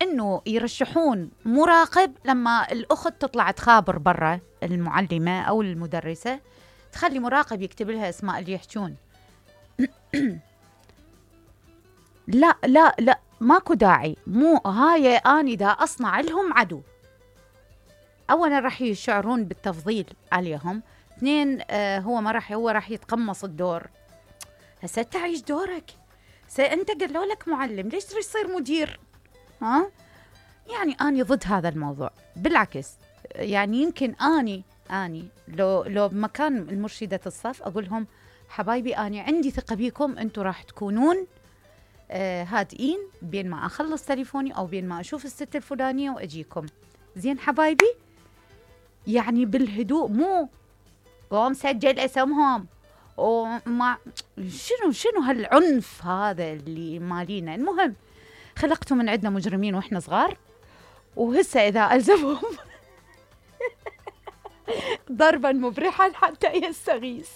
انه يرشحون مراقب لما الاخت تطلع تخابر برا المعلمة او المدرسة، تخلي مراقب يكتب لها اسماء اللي يحجون. لا لا لا، ماكو داعي، مو هاي اني دا اصنع لهم عدو. اولا راح يشعرون بالتفضيل عليهم، اثنين هو راح يتقمص الدور. هسه تعيش دورك، انت قالوا لك معلم، ليش تريد تصير مدير؟ ها يعني اني ضد هذا الموضوع، بالعكس يعني يمكن اني لو بمكان المرشدة الصف اقول لهم حبايبي اني عندي ثقة بيكم، انتم راح تكونون هادئين بين ما اخلص تليفوني او بين ما اشوف الست الفلانية واجيكم. زين حبايبي، يعني بالهدوء، مو قوم سجل اسمهم وما شنو هالعنف هذا اللي مالينا. المهم خلقتوا من عندنا مجرمين واحنا صغار، وهسه اذا الزمهم ضربا مبرحا حتى يستغيث.